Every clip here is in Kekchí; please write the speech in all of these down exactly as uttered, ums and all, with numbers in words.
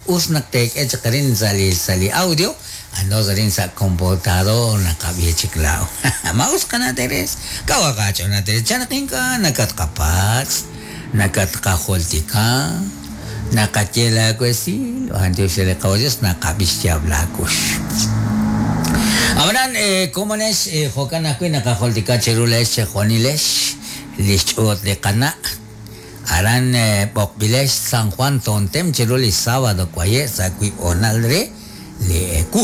Us naq teek'e chaq arin sa' li sa' li audio, andos arin sa' computador naqab'i chik laa'o. Ma us qana' Teres, kaw aqaach'ool na' Teres, chan naq ink'a' nakatqapatz', nakatqajultika, naqaye laawesil, b'antiox re li Qawa Dios naqab'i xyaab' laakux. Ab'anan komonex jo'kan ajwi' naqajultika cheru leex chejunilex li xch'uut li qana' aran b'oqb'ilex San Juan Tontem cheru li sábado waye' sa' wiib' hoonal re li ewu.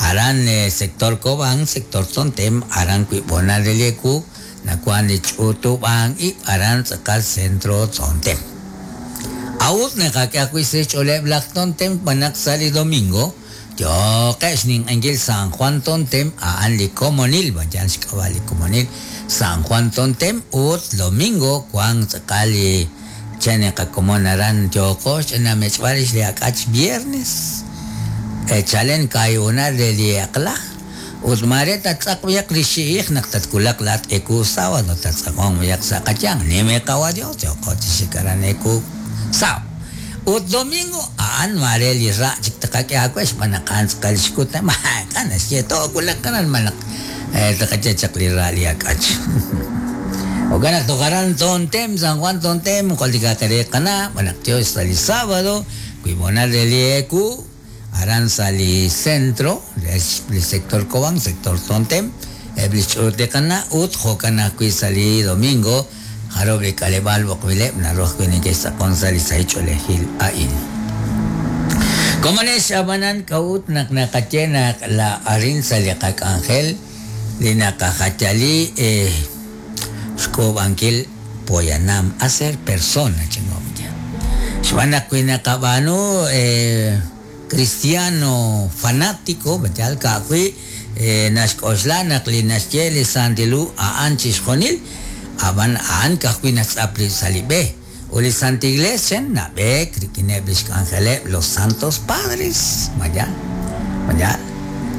Aran sector Cobán, sector Tontem, aran wiib' hoonal re li ewu nawan li ch'utub'an ib' aran tz'aqal centro Tontem. A'ut naqak'e ajwi' sa' xch'ooleb' laj Tontem b'anaq sa' li domingo yoqex ninq'enkil San Juan Tontem a'an li komonil, vayan xk'ab'a' li komonil San Juan Tontem ut domingo wan tz'aqal li chen qakomon aran yooqo xch'inamech'b'al rix li ak'ach viernes chalen kaayunal re li aqla ut mare tatz'aq b'iyaq li xi'ij naq tatkulaq laat eku sábado tatz'aqon b'iyaq sa' qayang nime qawa Dios yooqo chixik aran eku sábado. Ut domingo a'an mare li ra' chik taqak'e aawe xb'aan naq a'an tz'aqal xkut maak'a' naxye toowulaq aran malaq taqaye chaq li ra' li ak'ach. Jo'kan naq toj aran Tontem, San Juan Tontem, joltika tere qana' b'an naq Dios sa' li sábado wiib' hoonal re li eku aran sa' li centro li sector Cobán, sector Tontem, eb' li xch'uut li qana' ut jo'kan ajwi' sa' li domingo jarub' li k'aleb'aal b'oqb'ileb' naru ajwi' neke'xtz'aqon sa' li sahil a'in. Komonex ab'anan k'a'ut naq naqaye naq la arin sa' li qak'anjel li naqajayali xk'uub'ankil poyanam hacer persona chingo'ya. Xb'aan naq wi naqab'aanu cristiano fanático, yal ka'ajwi' naxk'oxla naq li naxye li Santilu a'an chixjunil, ab'an a'an ka'ajwi' natz'ap li sa' li b'e. Ut li Santa Iglesia nab'eek rik'ineb' li xk'anjeleb' los Santos Padres, mayal, mayal.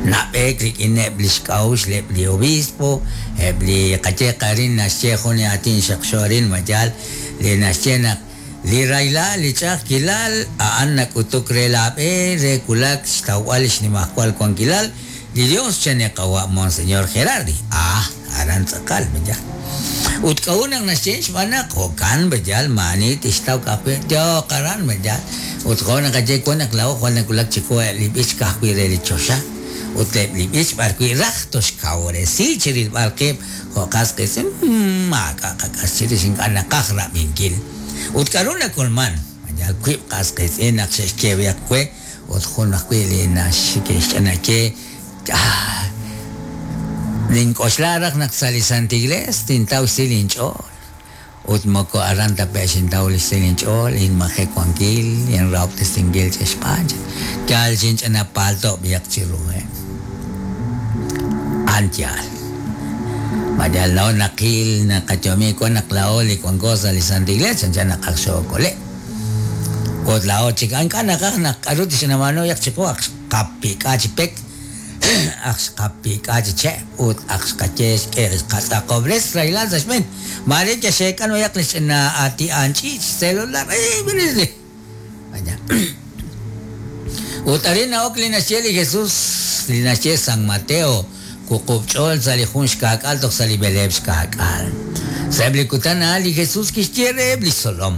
Nab'eek rik'ineb' li xk'a'uxl eb' li obispo, eb' li qaye qarin naxye jun li aatin xaqxo arin, mayal, li naxye naq li rayla li ch'a'ajkilal a'an nak'utuk re laab'e re kulak xtawb'al li xnimajwal wankilal li Dios chane qawa' Monseñor Gerardi. Ah, aran tz'aqal, mayal. Ut k'a'ut naq naxye xb'aan naq jo'kan mayal maani tixtaw ka'ajwi' yooq aran mayal. Ut jo' naqaye wan naq laa'o jwal nakulak chiqu li b'ich ka'ajwi' re li choxa. Ut eb' li b'ich b'arwi' raj toxkawresi chirilb'al qib' jo' qas qiitz'in maak'a' qak'as chirix ink'a' naqaj rab'inkil. Ut k'a'ru nak'ulman mayal wiib' qas qiitz'in naq xe'xye b'iyaq we ut jun ajwi' li naxke'xch'anaye ah nink'oxla raj naq sa' li Santa Iglesia tintaw xsil inch'ool. Ut moko aran tape' xintaw li xsil inch'ool, inmaje wankil, inrahob'tesinkil ch'exb'aan. Yal xinch'ana palto b'iyaq chiruheb'. A'an yaal. Mayal laa'o naqil naqayomi wan naq laa'o li wanko sa' li Santa Iglesia chanchan naqaj xookole'. Ut laa'o chik ink'a' naqaj naq k'a'ru tixnab'aanu yaq chiqu aq xqapik'a chi pek, aq xqapik'a chi che' ut aq xqaye xk'e xqatz'aqob'res rahilal sa' xb'een. Mare yaxeek'an wayaq li ch'ina ati'an ch'iich celular eh bilis. Vaya. Ut arin na'ok li naxye li Jesús li naxye San Mateo wuqub' ch'ool sa' li jun xkaak'al toj sa' li b'eleeb' xkaak'al. Sa'eb' li kutan a'an li Jesús kixye reheb' li xtzolom.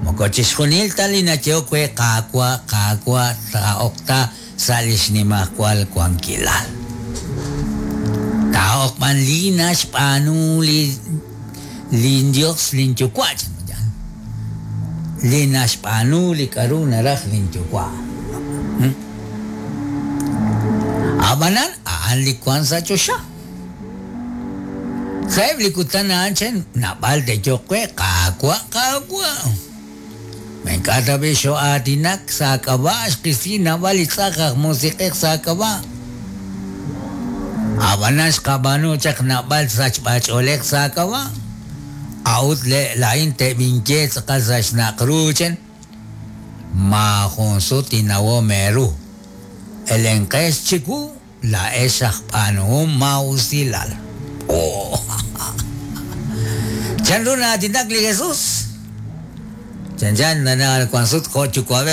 Moko chixjunil ta li nayehok we Qaawa', Qaawa' taa'ok ta sa' li xnimajwal wankilal. Taa'ok b'an li naxb'aanu li lin Dios lin yuwa' chan. Li naxb'aanu li k'a'ru naraj lin yuwa'. Ab'anan a'an li wan sa' choxa. Sa'eb' li kutan a'an chen naab'al te'yoq we Qaawa', Qaawa'. Ma ink'a' tab'i xo'aatinak sa' k'ab'a' xqisi naab'al li tz'aj aj musiq'ej sa' k'ab'a'. Ab'anan xqab'aanu chaq naab'al sachb'ach'oolej sa' k'ab'a'. A'ut laa'in te'b'inye tz'aqal sa' xnaq ru chen. Maajun sut inawom eeru. Elenqex chiwu laa'ex aj b'aanuhom maa'usilal. Oh. Chan ru na'aatinak li Jesús? Chan chan nana wan sut jo' yuwa'b'ej